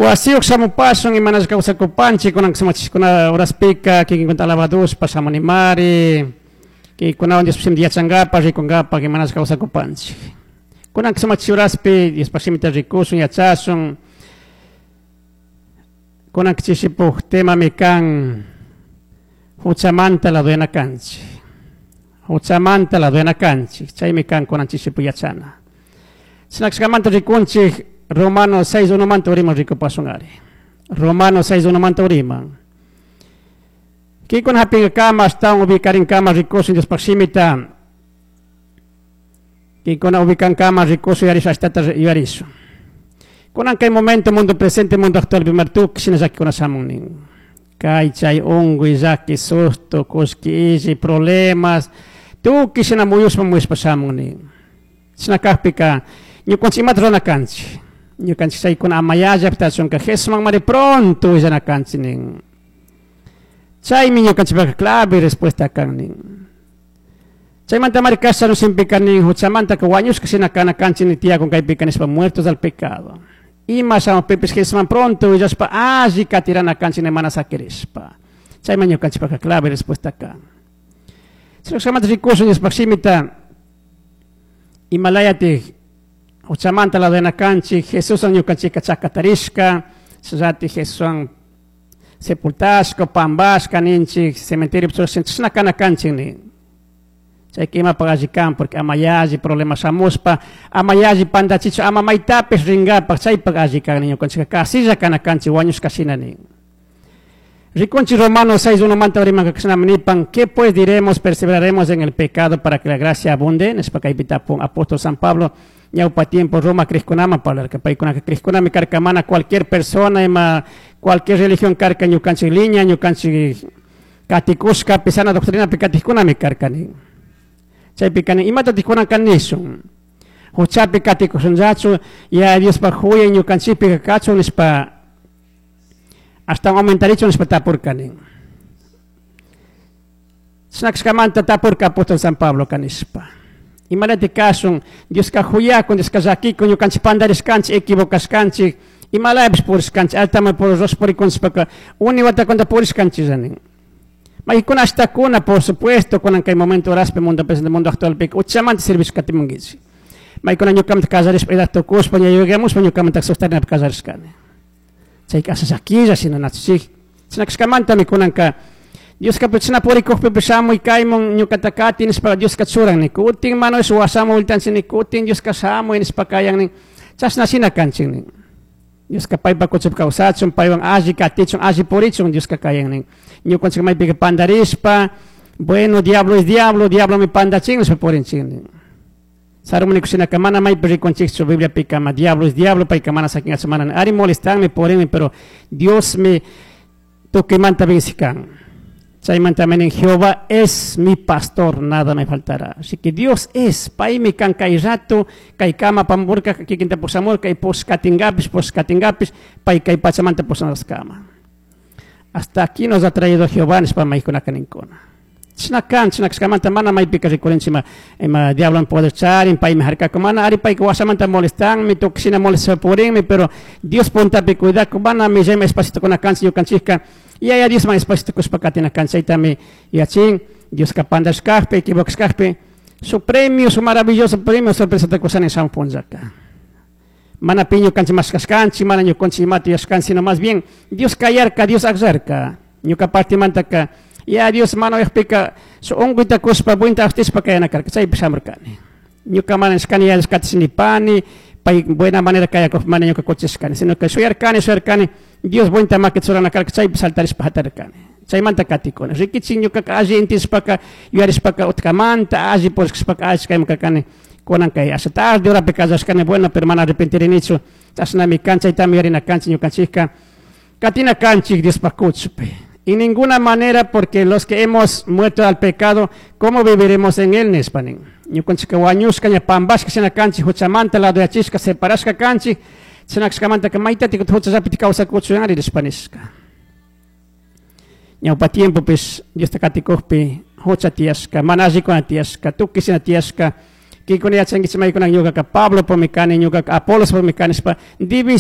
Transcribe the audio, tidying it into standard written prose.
Wasiyuq shamupasun imanasqa kawsakupanchik kunan sumachishkuna horaspika kikinkunata alabaduspa shamunimari kikunawan Diospa shimita yachankapak rikunkapak imanasqa kawsakupanchik. Kunan sumachish horaspi Diospa shimita rikushun yachasun. Kunan chishipuk temami kan huchamanta ladoyana kanchik. Huchamanta ladoyana kanchik. Chaymi kan kunan chishipu yachana. Shinakshkamanta rikunchik Romano 6 manta uriman rikupasun ari. Romano 6 manta uriman. Kikuna hapinka ashtawan ubikarinkama rikushun Diospaj shimita. Kikuna ubikankama rikushun yuyarisha ashtata yuyarishun. Kunan kay momento mundo presente mundo actual pimartuk shina llakikuna shamun nin. Kay chay unkuy llaki susto kullki illi problemas tukuy shina muyushpa muyushpa shamun nin. Shina kakpika ñukanchik imata rurana kanchik. Ñukanchik chaykuna amayalla pitachunka Jesusman pronto willana kanchik nin. Chaymi ñukanchikpaka clave respuesta kan nin. Chaymanta mari kasha simpika nin huchamantaka wañushka shina kana kanchik ni tiyakun kaypika nishpa muertos al pecado. Ima shamukpipis Jesusman pronto willashpa alli katirana kanchik ni mana sakirishpa. Chayman ñukanchikpaka clave respuesta kan. Chaymanta rikushun Diospaj shimita imalayatik huchamanta ladoyana kanchik Jesuswan ñukanchikka chakatarishka shinallatik Jesuswan sepultashka pambashka ninchik cementerio chashna kana kanchik nin. Chayka imapaq alli kan porque ama yalli problema shamushpa ama yalli pandachichu ama maytapish rinkapak chaypak alli kan nin ñukanchikka kasilla kana kanchik wañushka shina nin. Rikunchik Romanos 6 manta urimanka kashnami nipan, ¿qué pues diremos? Perseveraremos en el pecado para que la gracia abunde. Nishpa kaypi tapun apóstol San Pablo ñawpa tiempo Roma krishkunama parlarka paykunaka krishkunami karka mana cualquier persona ima cualquier religión karka ñukanchik liña ñukanchik katikushkapi sana doctrinapi katikkunami karka nin. Chaypika nin imatatik kunanka nishun huchapi katikushunllachu ya Diospaj huyay ñukanchikpika kachun nishpa ashtawan aumentarichun nishpa tapurka nin. Chashna kashkamanta tapurka apóstol San Pablo nishpa. Imalatik kashun Dioska huyakun Dioska llakikun ñukanchik pandarishkanchik equivocashkanchik imalapish purishkanchik altaman purikunchishpaka uni watakunata purishkanchiklla nin. Maykuna ashtakuna por supuesto kunan kay momento horaspi mundo presente mundo actualpika uchamanta servishka katimunkichik. Maykuna ñukamanta kallarishpa edad tukushpa ña yuyamushpa ñukamanta sosteninapi kallarishkani. Chayka asha llakilla shina nachuchik. Chashna kashkamantami kunanka Dioska chashna purikukpipish shamuy kaymun ñukata kati nishpa Dioska churan nin. Kutin mano washamu vueltanchik nin kutin Dioska shamuy nishpa kayan nin. Chashna shina kanchik nin. Dioska paypa kuchupi kawsachun paywan alli katichun alli purichun Dioska kayan nin. Ñukanchik maypika pandarishpa bueno diablo es diablo diablo mi pandachin nishpa purinchik nin. Sarumuni kushinaka mana maypi rikunchikchu Bibliapika ma diablo es diablo payka mana sakingachu mana nin. Ari molestanmi purinmi pero Dios mi tukuymanta vencikan. Chaymanta nin Jehová es mi pastor, nada me faltará. Así que Dios es, paymi kan kay rato, kay kama pamurka, kikinta pusamurka, y poskatingapis, poskatingapis, pay kay pachamanta pusanascama. Hasta aquí nos ha traído Jehová, nishpa maykunaka ninkuna. Chashna kan, chashna kashkamanta mana maypika rikurinchik ima, ima diablo poder charin, paymi harkaku mana, ari payka washamanta molestanmi, tukuy shina molestaspa purinmi, pero Dios puntapi cuidaku, mana millayma espacito kuna kanchik ñukanchikka, Yaya Diosman espacito kushpa katina kanchik, chaytami yachin, Dioska pandashkakpi, equivocashkakpi, su premio, su maravilloso premio, sorpresata kusani shamun punllaka. Mana pi ñukanchik mashkashkanchik, mana ñukanchik imata yuyashkanchik, sino más bien Dios kayarka, Dios akllarka. Ñuka partimantaka, ya Dios mana uyakpika, su unkuyta kushpa, buenta aftishpa kayana karka, chaypi shamurkani. Ñuka mana nishkani, ya Dios katish nipani, pay buena manera kayakuk mana ñuka kuchishkani, sino que shuyarkani, shuyarkani, Dios buenta makita churana karka, chaypi saltarishpa hatarkani. Chaymanta katikuni. Rikichik ñukaka alli intishpaka, yuyarishpaka utkamanta, alli purishkashpaka alli kayman karkani. Kunan kay asha tarde horapi kallashkani, bueno, pero mana arrepentirinichu. Chashnami kan, chaytami yuyarina kanchik ñukanchikka. Katina kanchik Diospaj kuchupi. En ninguna manera, porque los que hemos muerto al pecado, ¿cómo viviremos en él? Nishpa nin. Ñukanchikka wañushka ña pambashka shina kanchik, huchamanta ladoyachishka, separashka kanchik, chashna kashkamantaka maytatik huchallapi kawsakuchun ari nishpa nishka. Ñawpa tiempopish Diosta katikukpi hucha tiyashka, mana allikuna tiyashka, tukuy shina tiyashka, kikuna yachankichik maykuna ñukaka Pablo pumi kani, ñukaka Apolos pumi kani nishpa división.